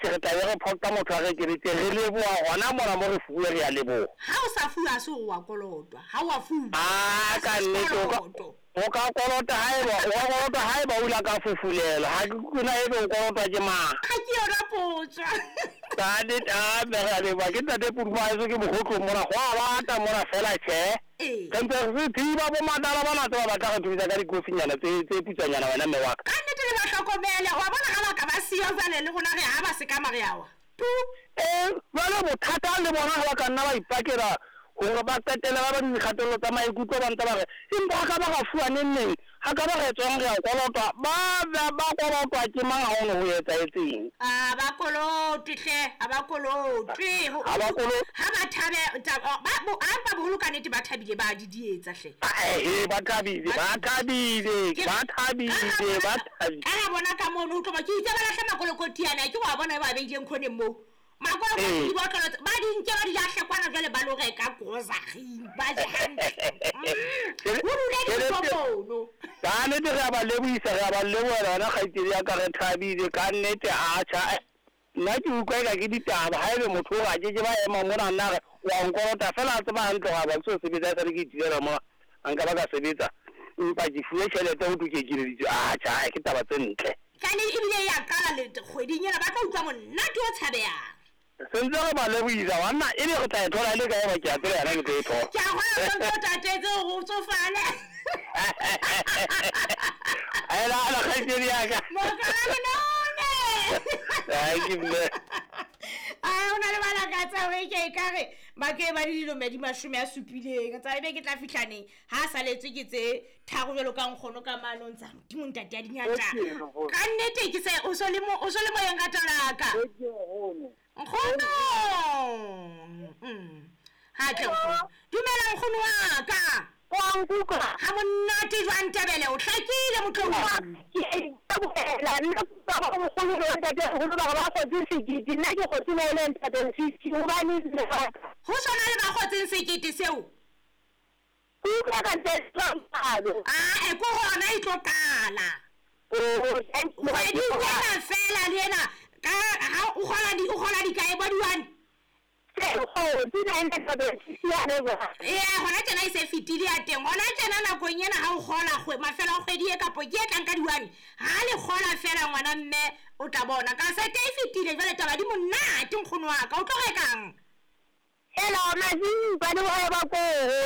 Atjhe, re tla be re phoqa motho a re ekeditse. Re leboha hona mona mo re fuwe, re a leboha. Ha o sa fuwe ha se hore wa kolotwa. Ha o a fuwa. Ah, Ha ka se nnete o ka sekoloto. o ka kolota haeba o ka kolota haeba o ile ka fufulelwa. Ha ke utlwe na ebe o kolotwa ke mang. Ha ke yona potso. Ka nnete, ah, mme re a leboha. Ke ntate Puduma haeso ke Mokgotlong mona. Ho a bata mona feela tjhe. Ee. Re ntse re thiba bo matala bana tseba ba tla re thusa ka dikofinyana tse tse putswanyana wena mme wa ka. Ka nnete le ba hlokomele. Wa bona ha ba ka ba siyo jwale le rona re ha ba sekama re a wa. Tu. Eh, jwale bothata le bona ha ba ka nna ba ipakela hore ba qetelle ba ba le dikgatello tsa maikutlo ba ntse ba re empa ha ka ba ra fuwa neng neng, ha ka ba re tswang re a kolotwa, ba ba ba kolotwa ke mang ha ho ne ho etsahetseng? A ba kolotwe hle, ha ba kolotwe. Ho Ha ba kolotwe. ha ba thabe ta- ba bo empa boholo ka nnete ba thabile ba didietsa hle. Eh, ba thabile, ba thabile, Ke- ba thabile, ba thabile. Ka ra bona ka mono o tlo ba ke itse ba lahle makolokoti ana ke wa bona ba beileng khoneng moo. Makolokoti Ee. dibotlolo tse- ba di nke ba di lahle kwana jwale ba lo reka grocery ba je hantle. Ho dule dijo mono. Ka nnete re a ba lebohisa, re a ba lebohela wena kgaitsedi ya ka, re thabile ka nnete. Atjha, nna ke utlwa eka ke ditaba ha ebe motho o a ke ke ba ema mona nna re wa nkolota fela a tseba hantle hore ha ba ke so sebetsa e sale ke itulela mona a nka ba ka sebetsa empa ke fuwe tjhelete ho thwe ke ekeleditswe. Atjha, ke taba tse ntle. Kane ebile ya qala le kgweding ena ba tlo utlwa monate o tshabehang. Sentse re ba lebohisa banna ebe re tla e thola e le kae ba ke a tseba yena ke tlo e thola. Ke a kgolwa o ntso tatetse hore o tsofale. Ela ala kgaitsedi ya ka. Mokala lenone. Ai, ke mme. Ai, o na le balakatsa hore ke ekare ba ke ba le dilome di 70. Tsa ebe ke tla fihla neng ha a saletswe ke tse tharo jwalo ka nkgono ka mano ntsa Modimo ntate ya dingata. Ka nnete ke se o so le mo o so le moyeng ka talaka. Nkgono. Ha tle nkgono. Dumela nkgono wa ka. Wa nkutlwa? Ha monate jwang Tebele o hlakile motlong. Ke a itebohela nna ke utlwa ba mogolo le ntate holo ba re ba kgotse sekete nna ke kgotse 950 hobane lebaka. Ho sona le ba kgotseng sekete seo. Ke utlwa ka ntle jwalo. Ah, e ko hona e tlo qala. Kgwedi ena fela le ena ka ha o kgola di o kgola dikae bo di-one? Kgotse 950 yane jwale. Ee, hona tjena e se fetile ya teng. Hona tjena nakong ena ha o kgola mafelo a kgwedi e kapo ke e tlang ka di-one. Ha le kgola fela ngwana mme o tla bona. Ka sete e fetile jwale taba di monate nkgono wa ka. O tlo rekang? Ela mazimba le bohole ba koro.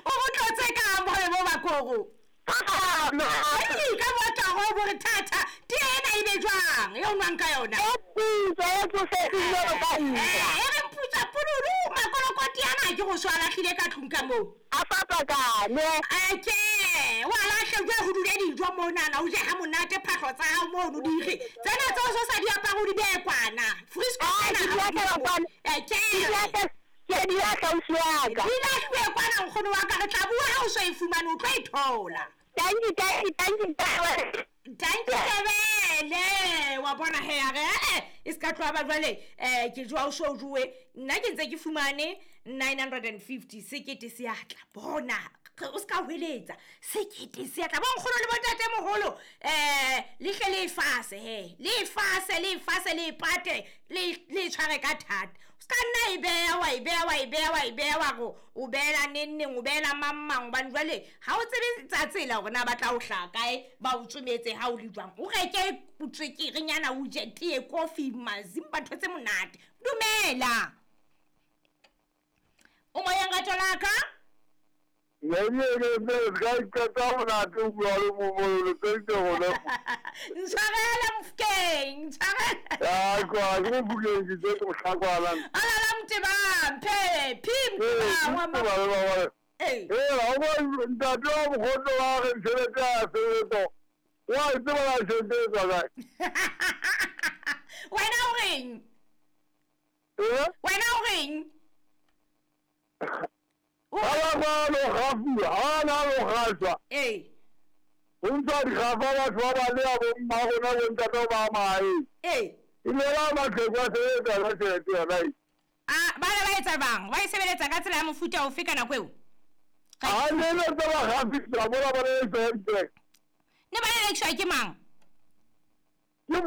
O bo tlotse kang bohole bo ba koro? Ai, ka botla ho bo re thata. Tee ena e be jwang e o nwang ka yona? E putswa, e tsofetseng jwalo ka nna. Eh, e re mputsa pululu, makolokoti ana ke go so a lahlile ka tlung ka moo. A fapakane. Ake, wa lahle jwale ho dule dijo monana, o je ha monate phahlo tsa hao mono di re. Tsena tseo so sa di apare o di behe kwana. Frisco Ah, tsena ke di ha o di lahlela mo. kwana. Eke. Ke di lahlela, ke di lahla ausi wa ka. Di lahluwe kwana nkgono wa ka, re tla bua ha o so e fumane o tlo e thola. Thank you, thank you, thank you, thank you. Thank you Tebele. Wa bona he a re e se ka tloha ba jwale ke jwa o so jowe nna ke ntse ke fumane 950 sekete se a tla bona o se ka hweletsa sekete se a tla bo nkgono le bontate moholo le hle le fase he le fase le fase le pate le tshware ka thata o se ka nna e beha wa e beha wa e beha wa e beha wa go o beela neng neng o beela mang mang hobane jwale ha o tsebe tsa tsela hore na ba tla o hlaha kae ba o tsometse ha o le jwang o reke tswekerenyana o je tee kofi mazimba ntho tse monate. Dumela o moyeng rato la ka? Ntshwarela Mofokeng, ntshwarela. Alala Motebang, phe, phi Motebang wa ma- Ee. Ntate wa mokgotlo wa re tjhelete ya sebetso. Wa e tseba la tjhelete e tswa kae? Wena o reng? Eh? Wena o reng? Ha ba ba lo gafuwa, ha na lo gashwa. Ee. Ho ntsha dikgafa batho ba ba le ya bo mma rona bo ntate ba mahaeng. Ee. E ne ba matlheko a sebetsa ka tjhelete yona e. Ah, ba ne ba etsa bang? Ba e sebeletsa ka tsela ya mofuta ofe ka nako eo? Ha ne le tse ba gafisa, bona ba le tse. Ne ba lelekiswa ke mang?